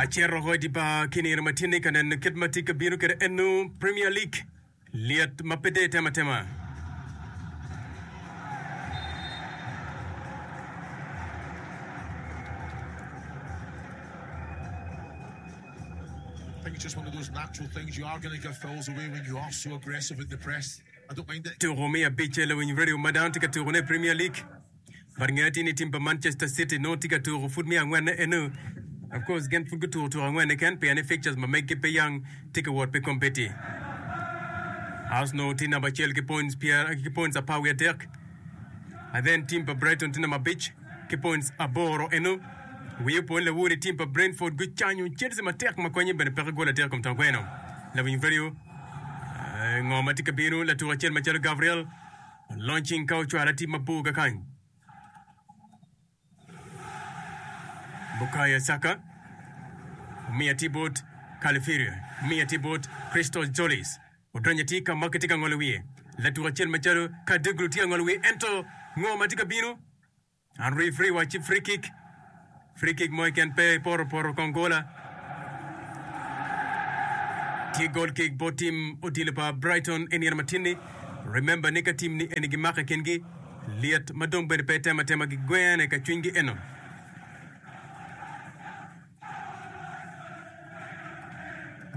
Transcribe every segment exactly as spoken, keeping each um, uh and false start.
Acito oko i dye bar ki nino ma tye-ni ka neno kit ma tye ka bino kwede eno Premier League lyet ma pe dong itemo atema. I think it's just one of those natural things. You are going to give fouls away when you are so aggressive with the press. I don't mind it. Tuko me abicce lawiny radio ma dano tye ka tukone i Premier League. But nge atir ni tim pa Manchester City nongo tye ka tuko pud me angwenne eno. Of course gin pud gutuko tuko angwen keken pien ni fixtures ma meggi pe yang tye ka wot pi kombeddi. Arsenal tye namba acel ki points pyer ki points apar wiye adek. And then tim pa Brighton tye namba abic ki points aboro eno. Wiye opo ni lawor i tim pa Brentford gucanyo Chelsea matek ma konye bene peke gol adek kom tongweno. Lawiny radio eh, ngo ma tye ka bino latuko acel macalo Gabriel Launching ka ocwalo atim mabor kakany. Bukayo Saka omiyo atir bot Califeria, omiyo atir bot Christos Tzolis. Odonyo atir ka ma kitye ka ngolo wiye. Latuko acel macalo Kaduglu tye ka ngolo wiye ento ngo ma tye ka bino? An referee wacci free kick. Free kick mo keken pe ipoto poto kong gola. Tye goal kick bot team odilo pa Brighton i nino matinni. Remember ni ka team ni eni gimako i kingi, lyet ma dong bene pe temo atema gigwene ka cwinygi eno.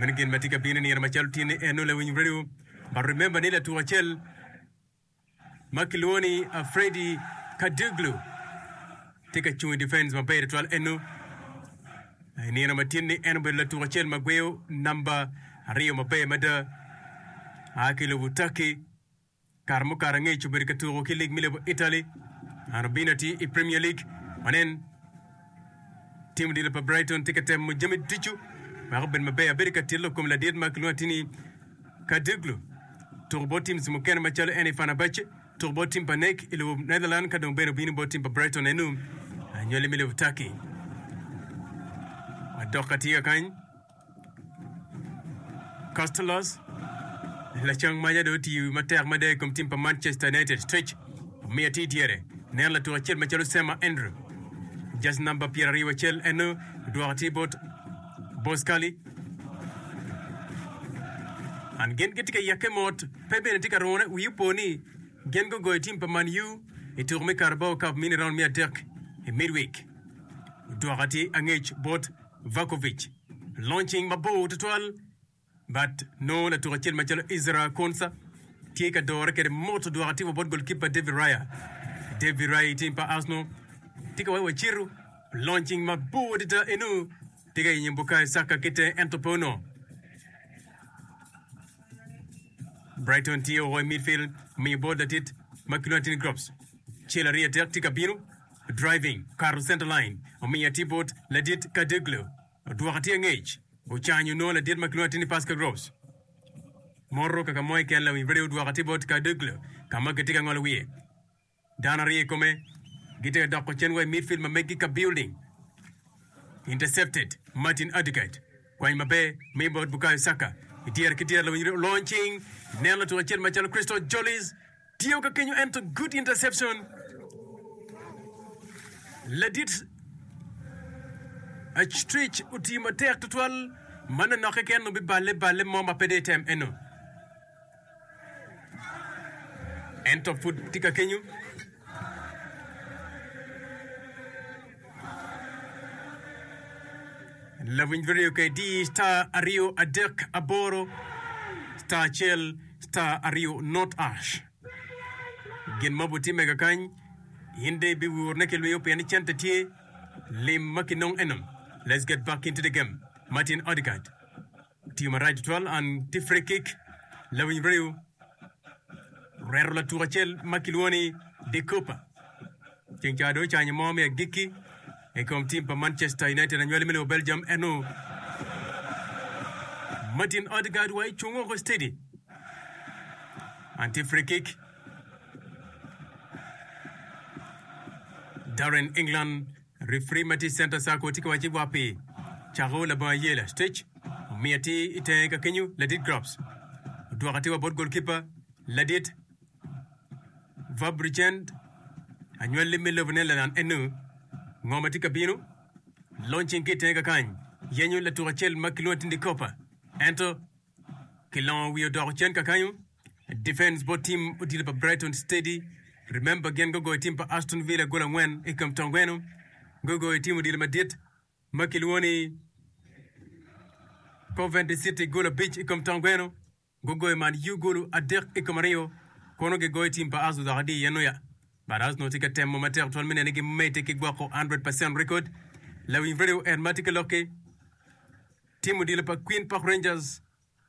Meno gin ma tye ka bino i nino macalo tinni eno lawiny radio. But remember ni latuko acel ma kilwongo ni Freddie Kadouglu tye ka cung i difens maber tutwal eno. I nino ma tyen-ni en obedo latuko acel ma gweyo namba aryo maber mada a ki i lobo Turkey. Kare mukato angec obedo ka tuko ki lig me lobo Italy. An obino atir i Premier League. Wanen tim odilo pa Brighton tye ka temo jami ducu wek obed maber. Abedo ka tito lok kom ladit ma kilwongo atir ni Kadouglu tuko bot teams mukene macalo en i Fenerbahce, tuko bot team pa N E C i lobo Netherlands ka dong bene obino bot team pa Brighton enu anywali me lobo Turkey. Wadok atika kany Costellos lacang maca dong otiyo matek mada i kom team pa Manchester United. Stretch omiyo atir dyere neno latuko acel macalo Sema Andrew just number pyeraryo acel enu odwoko atir bot Boscali. An gin gitye ka yakke mot, pe bene tye ka rune. Wi opo ni gin gugoyo tim pa Man U i tuko me Carabao Cup mini round me adek i midweek. Odwoko atir angec bot Vakovic. Launching mabor tutwal but nongo latuko acel macalo Ezra Konsa tye ka dore kwede mot odwoko atir wa bot goalkeeper David Raya. David Raya i tim pa Arsenal tye ka wai waciru launching mabor adada enu. Tye ka yenyo Bukayo Saka ki tenge ento pe onongo. Brighton tye oko i midfield omiyo bot ladit ma kilwongo atir ni Groves. Cel aryo adek tye ka bino driving okato center line omiyo atir bot ladit Kadouglu odwoko atir angec ocanyo nongo ladit ma kilwongo atir ni Pascal Groves. Moto kaka mo keken lawiny radio odwoko atir bot Kadouglu ka ma gitye ka ngolo wiye. Dano aryo i kome gitye ka doko cen wa i midfield ma meggi ka building. Intercepted Martin Odegaard kwany maber miyo bot Bukayo Saka i dyere ki dyere lawiny olony cing neno latuko acel macalo Crystal Jollies tiyo ka kenyo ento good interception ladit Astrich otiyo matek tutwal ma nonok keken obiballe balle mo ma pe dong etem eno. Ento pud tye ka kenyo. Lawiny video ka idi star aryo adek aboro star acel star aryo not ash. Gin ma obitimme kakany, in dong ibiwurne ki lwiyo pien ni cente tye lim ma kinong eno. Let's get back into the game. Martin Odegaard. Otiyo marac tutwal an tye free kick lawiny reyo reto latuko acel ma kilwongo ni De Cooper ceng ca dong ocanyo mo me agikki i kom tim pa Manchester United anywali me lobo Belgium eno Martin Odegaard wa icung oko steady an tye free kick Darren England Referee ma tye i center circle tye ka wacci wa pi cako labongo ayela. Stretch omiyo atir i tenge ka kenyo ladit Grops odwoko atir wa bot goalkeeper ladit Verbruggen anywalli me lobo Netherland enu ngo ma tye ka bino launching ki i tenge kakany Yenyo latuk acel ma kilwongo ni Kopa. Ento kilongo wiye odoko cen kakanyo. Defense bot team odilo pa Brighton steady. Remember gin gugoyo team pa Aston Villa gol angwen i kom tongweno. Gugoyo team odilo madit ma kilwongo ni Coventry City gol abic i kom tongweno. Gugoyo Man U gol adek i kom aryo. Kono gigoyo team pa Arsenal dok adi yen oya. But Arsenal tye ka temo matek twal me neno ni gimedde ki gwoko one hundred percent record. Lawiny radio en ma tye ka lokki. Team odilo pa Queen Park Rangers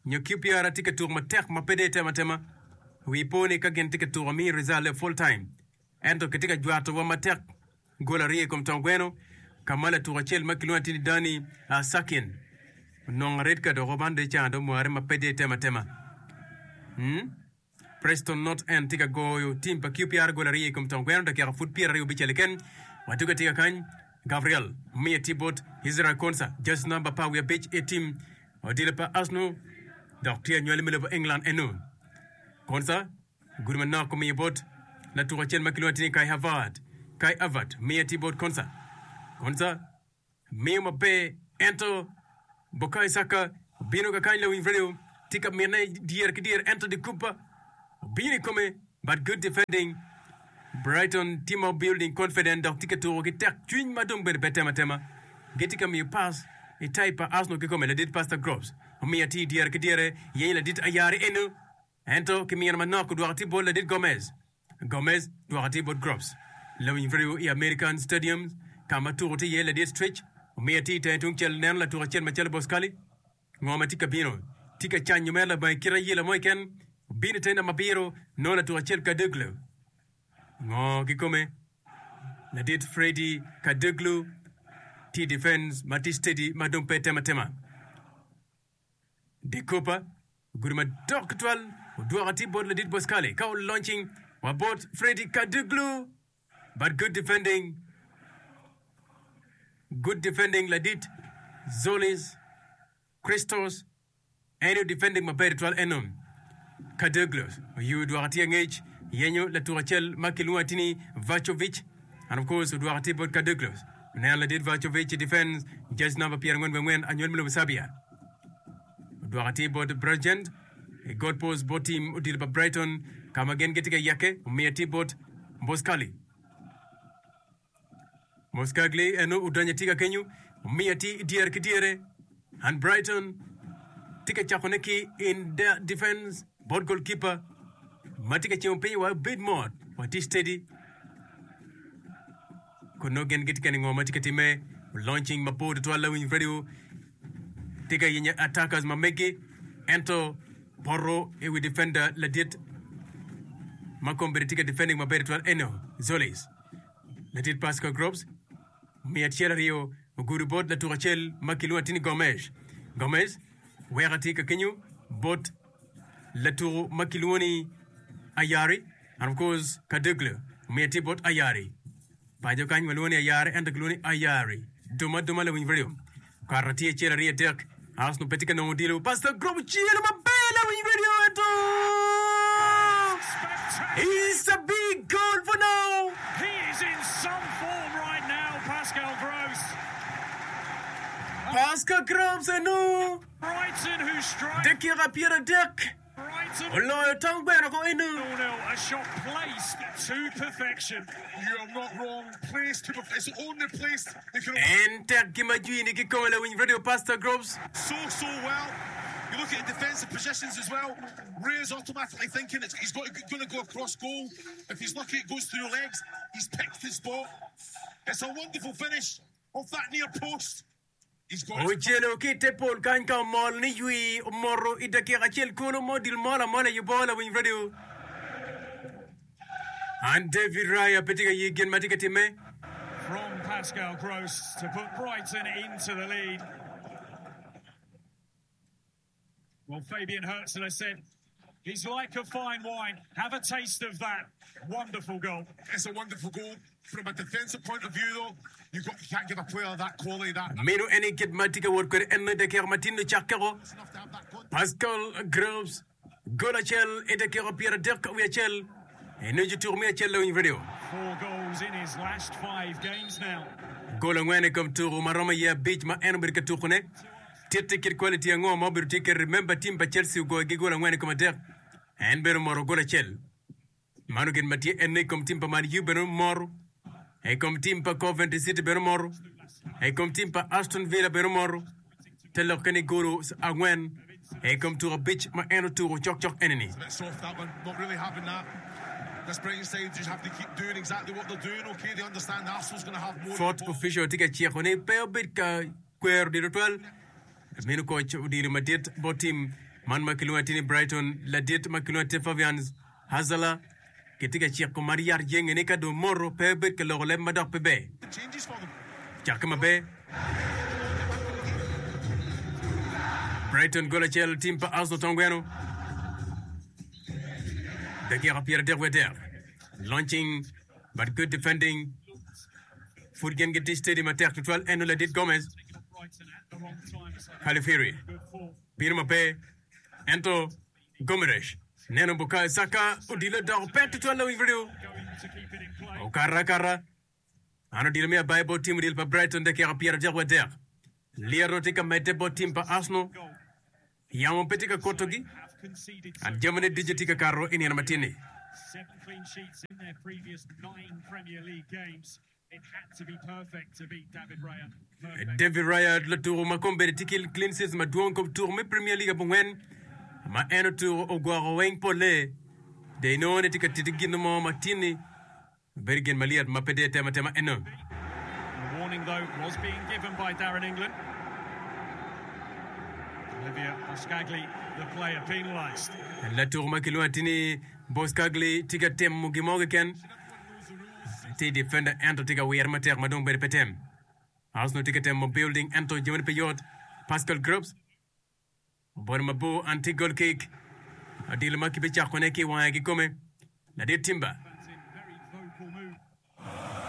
nyo Q P R tye ka tuko matek ma pe dong itemo atema. Wi po ni ka gin tye ka tuko amiyo result e full time. Ento kitye ka jwatowa matek gol aryo i kom tongweno ka ma latuko acel ma kilwongo atir ni Danny Sakin onongo red card oko man dong icanga dong omware ma pe dong itemo atema. Hmm? Preston North End tye ka goyo tim pa Q P R gol aryo i kom tongweno dakika pud pyeraryo bicel keken. Watugo atika kany Gabriel omiyo tye bot Israel Konsa jersey namba apar wiye abic i tim odilo pa Arsenal dok tye anywali me lobo England eno. Konsa gudo manok omiyo bot latuko acel ma kilwongo ni Kai Havertz. Kai Havertz omiyo tye bot Konsa. Konsa miyo maber ento Bukayo Saka obino kakany lawiny radio tye ka mine dyer ki dyer ento De Cooper obino i kome but good defending. Brighton tye ma building confident dok tye ka tuko ki tek cwiny ma dong bene pe tem atema. Gitye ka miyo pass i type pa Arsenal kikome ladit Pastor Groves omiyo atir dyere ki dyere yenyo ladit Ayari eno ento kimino manok odwoko atir bot ladit Gomez. Gomez dwoko atir bot Groves. Lawiny radio i American Stadium ka ma tuko tye iye ladit Stretch omiyo atir tenge tung cel neno latuko acel macalo Boscali. Ngo ma tye ka bino? Tye ka canyo mere labongo kit ayela mo keken. Obino i te namba abiro nongo latuko acel Kaduglu. Ngo kikome? Ladit Freddy Kaduglu tye i defense ma tye steady ma dong pe tem atema. De Cooper ogudo madok tutwal odwoko atir bot ladit Boscali ka olaunching wa bot Freddy Kaduglu but good defending good defending ladit Zolis Christos en aye defending maber tutwal eno. Kaduglu oyu odwoko atir angec yenyo latuko acel ma kilwongo atir ni Vacovic and of course odwoko atir bot Kaduglu oneno ladit Vacovic i defense jersey number pyerangwen wiye angwen anywali me lobo Serbia odwoko atir bot Brigent i god post bot team odilo pa Brighton ka ma gin gitye ka yeke omiyo atir bot Boscali Boscagli eno odonyo atir ka kenyo omiyo atir i dyere ki dyere and Brighton tye ka cakone ki in their defense bot goalkeeper ma tye ka cimo piny wa bed mot wa tye steady kun nongo gin gitye ka neno ngo ma tye ka timme launching mabor tutwal lawiny radio tye ka yenyo attackers ma megi ento poto i wi defender ladit ma kombeddi tye ka defending maber tutwal eno Zolis ladit Pascal Groves miya acel aryo ogudo bot latuko acel ma kilwongo atir ni Gomez Gomez weko atir ka kenyo bot latuko ma kilwongo ni Ayari and of course Kaduglu omiyo atir bot Ayari paco kany walwongo ni Ayari ento kilwongo ni Ayari duma duma lawiny radio okato atir acel aryo adek Arsenal pe tye ka nongo odilo Pastor Groves ocelo maber lawiny radio ento It's a big goal for now. He is in some form right now, Pascal Gross. Pascal Groves eno Brighton who strike. dakika pyeradek Brighton oloyo tong gweno ko eno. nil a shot placed to perfection. You are not wrong. Placed to it's the only place they can En tek gima jwini kikome lawiny radio Pastor Groves. so so well. You look at the defensive positions as well. Ray's automatically thinking it's, he's got going to go across goal. If he's lucky, it goes through legs. He's picked his spot. It's a wonderful finish off that near post. He's got his Ocelo ki i te pol kany ka omol ni ywi omoto i dakika acel kulu mo dil mol amola i yubo lawiny radio. An David Raya pe tye ka ye gin ma tye ka timme. From Pascal Gross to put Brighton into the lead. Well, Fabian Hurzeler said he's like a fine wine. Have a taste of that wonderful goal. It's a wonderful goal. From a defensive point of view, though, you, got, you can't give a player that quality, that Meno en i kit ma tye ka wot kwede en dakika matin ocakkeko. enough to have that contact. Pascal Groves gol acel i dakika pyeradek wiye acel eno jotuko me acel lawiny radio. Four goals in his last five games now. Gol angwen i kom tuko ma romo iye abic ma en obedo ka tukone. Titti kit quality ango ma obedo tye kwede. Remember team pa Chelsea ogoyo gi gol angwen i kom adek. En bene omoro gol acel. Mano gin ma tye ene i kom team pa Man U bene omoro. I kom team pa Coventry City bene omoro. I kom team pa Aston Villa bene omoro. Te lokke ni golo angwen i kom tuko abic ma en otuko cokcok enini. It's a bit soft that one. Not really having that. This Brighton side just have to keep doing exactly what they're doing. Okay, they understand Arsenal's going to have more of the Fourth ball. official tye ka ciko ni pe obed ka kwero odilo twal. Meno koc odilo madit bot team man ma kilwongo atir ni Brighton ladit ma kilwongo atir Fabian Hurzeler kitye ka ciko mar yat jenge ni ka dong moto pe obed ka loko leb ma dok pe ber. The changes for them. Cakke maber. Brighton gol acel team pa Arsenal tongweno. Dakika pyera adek wiye adek. Launching but good defending. Pud gin gitye steady matek tutwal eno ladit Gomez. Calafiori. Bino maber. Ento Gomes neno Bukayo Saka odilo doko pek tutwal lawiny radio. Okato akata. An odilo me abayi bot team odilo pa Brighton dakika pyera adek wiye adek. Lyeto tye ka medde bot team pa Arsenal. Yamo pe tye ka kutogi. An jamine ducu tye ka kato i nino matin-ni. Seven clean sheets in their previous nine Premier League games. It had to be perfect to beat David Raya. Perfect. David Raya latuko ma kombeddi tye ki clean sheets madwong kom tuko me Premier League abongwen ma en otuko ogwoko weng polle de inongo ni tye ka titi gin mo matin-ni bedo gin malyet ma pe dye tema tema eno. The warning, though, was being given by Darren England. Olivia Boscagli, the player penalised. Latuko ma kilwongo atir ni Boscagli tye ka temo gin mo keken tye defender ento tye ka wire matek ma dong bedo pe tem. Arsenal tye ka temo building ento jamine pe yot. Pascal Gross obodo mabor anti goal kick odilo ma kibicakone ki i wange kikome ladit Timber